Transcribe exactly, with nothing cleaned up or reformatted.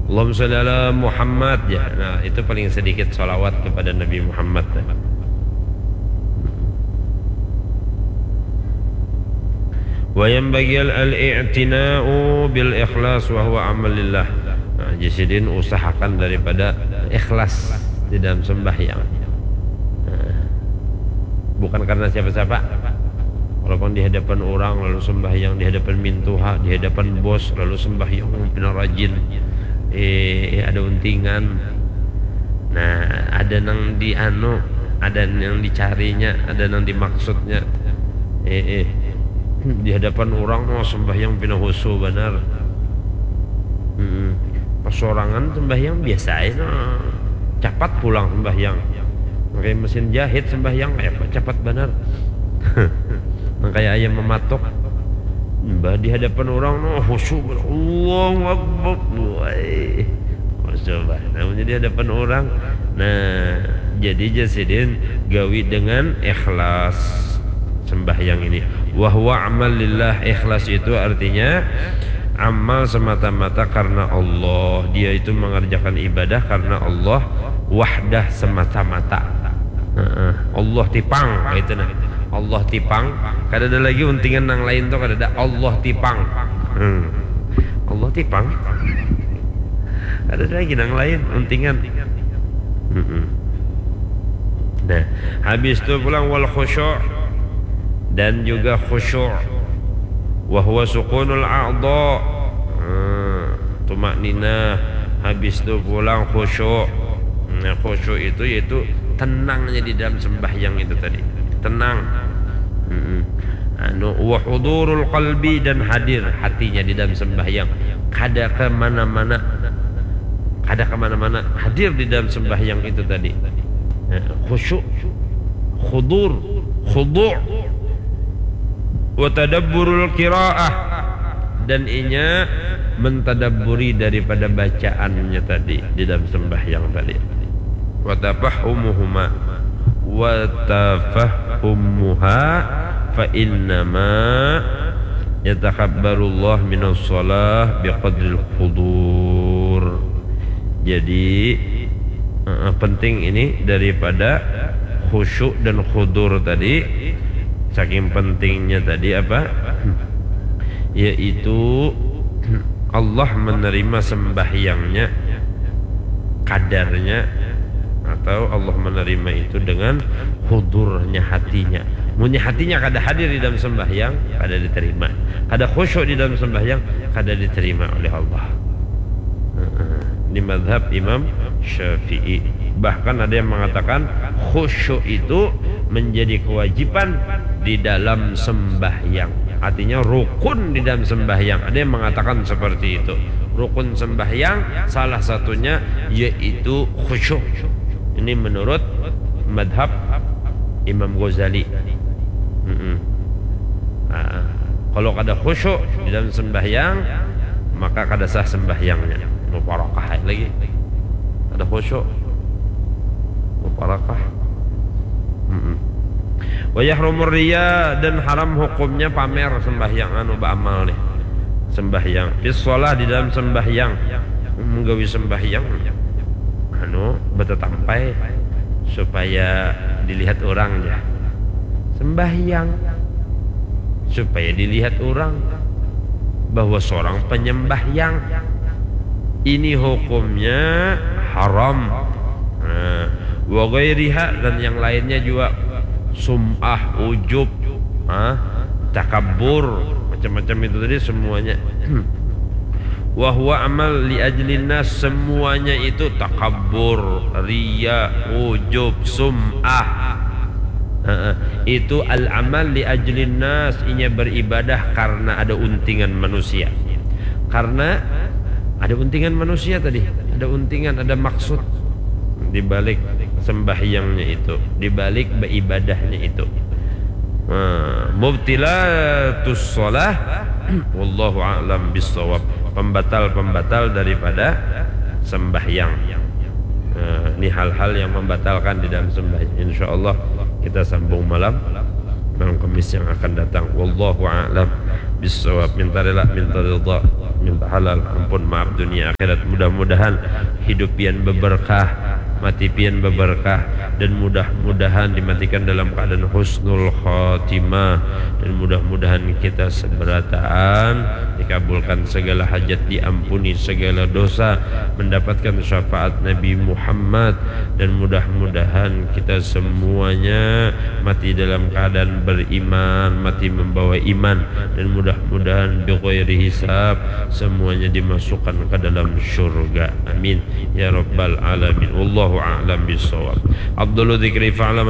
Allahumma sholli ala Muhammad, ya. Nah, itu paling sedikit sholawat kepada Nabi Muhammad. Wa yanbaghi al-i'tina'u bil ikhlas wa huwa amal lillah. Nah, jadi sidin usahakan daripada ikhlas di dalam sembahyang. Nah, bukan karena siapa-siapa. Walaupun di hadapan orang lalu sembahyang, di hadapan mintuha, di hadapan bos lalu sembahyang, pina rajin. Eh, ada untingan. Nah, ada nang di anu, ada nang dicarinya, ada nang dimaksudnya. Eh, eh. Di hadapan orang, oh, sembahyang pina husu banar. Mm-mm. Pas sorangan sembahyang biasa aja, nah. Capat pulang sembahyang. Pakai mesin jahit sembahyang, kayak apa capat banar. Nang kayak ayam mematok. Mbah di hadapan orang, nah, husu, Allahu Akbar. Wai. Husu, bah. Namanya di hadapan orang. Nah, jadi ja sidin gawi dengan ikhlas sembahyang ini. Wa huwa amal lillah, ikhlas itu artinya amal semata-mata karena Allah. Dia itu mengerjakan ibadah karena Allah, wahdah, semata-mata. Heeh. Allah tipang, itu nah. Allah tipang, kada ada lagi untingan nang lain tuh, kada ada. Allah tipang. Hmm. Allah tipang. Ada lagi nang lain untingan. Mm-mm. Nah, habis tu pulang wal khusyuk dan juga khusyuk. Wa huwa sukunul a'dha. Hmm, tumakninah. Habis tu pulang khusyuk. Nah, khusyuk itu yaitu tenangnya di dalam sembahyang itu tadi. Tenang. Mm-mm. Anu, wa hudurul qalbi, dan hadir hatinya di dalam sembahyang. Kada ke mana-mana. Kada ke mana-mana. Hadir di dalam sembahyang itu tadi. Nah, khusyuk, khudur, khudu'. Wa tadabburul qiraah, dan inya mentadabburi daripada bacaannya tadi di dalam sembahyang tadi. Wa tafahumuhuma, wa tafahumuha, fa innama yatakabbarullah minas shalah biqadril hudur. Jadi, eh, penting ini daripada khusyuk dan khudur tadi. Saking pentingnya tadi apa? Yaitu Allah menerima sembahyangnya kadarnya, atau Allah menerima itu dengan hudurnya hatinya. Munnya hatinya kada hadir di dalam sembahyang, kada diterima. Kada khusyuk di dalam sembahyang, kada diterima oleh Allah. Heeh. Ini madhab Imam Syafi'i. Bahkan ada yang mengatakan khusyuk itu menjadi kewajiban di dalam sembahyang. Artinya rukun di dalam sembahyang. Ada yang mengatakan seperti itu. Rukun sembahyang salah satunya yaitu khusyuk. Ini menurut madhab Imam Ghazali. Mm-mm. Nah, kalau kada khusyuk di dalam sembahyang, maka kada sah sembahyangnya. Muparakah lagi. Kada khusyuk. Muparakah. Mm-mm. Wa yahrumur riya, dan haram hukumnya pamer sembahyang, anu, baamal nih. Sembahyang. Fis shalah, di dalam sembahyang. Menggawi sembahyang. Anu, betetampai supaya dilihat orang ya. Sembahyang. Supaya dilihat orang bahwa seorang penyembahyang. Ini hukumnya haram. Nah, wa ghairiha, dan yang lainnya juga, sum'ah, ujub, ah, takabur, macam-macam itu tadi semuanya. Wa huwa amal li ajlin nas, semuanya itu takabur, riya, ujub, sum'ah. Heeh. Itu al-amal li ajlin nas, inya beribadah karena ada untingan manusia. Karena ada untingan manusia tadi, ada untingan, ada maksud di balik sembahyangnya itu, di balik beribadahnya itu. Nah, mubtilatus shalah, wallahu a'lam bissawab. Pembatal-pembatal daripada sembahyang. Nah, ini hal-hal yang membatalkan di dalam sembahyang. Insya Allah kita sambung malam, malam Kamis yang akan datang. Wallahu a'lam bissawab. Minta rela, minta ridha. Minta halal, ampun, maaf dunia akhirat. Mudah-mudahan hidup pian beberkah, mati pian beberkah, dan mudah-mudahan dimatikan dalam keadaan husnul khatimah, dan mudah-mudahan kita seberataan dikabulkan segala hajat, diampuni segala dosa, mendapatkan syafaat Nabi Muhammad, dan mudah-mudahan kita semuanya mati dalam keadaan beriman, mati membawa iman, dan mudah-mudahan bighairi hisab semuanya dimasukkan ke dalam syurga. Amin ya rabbal alamin. Wallahu a'lam bishawab. Afdalu dzikri fa'lam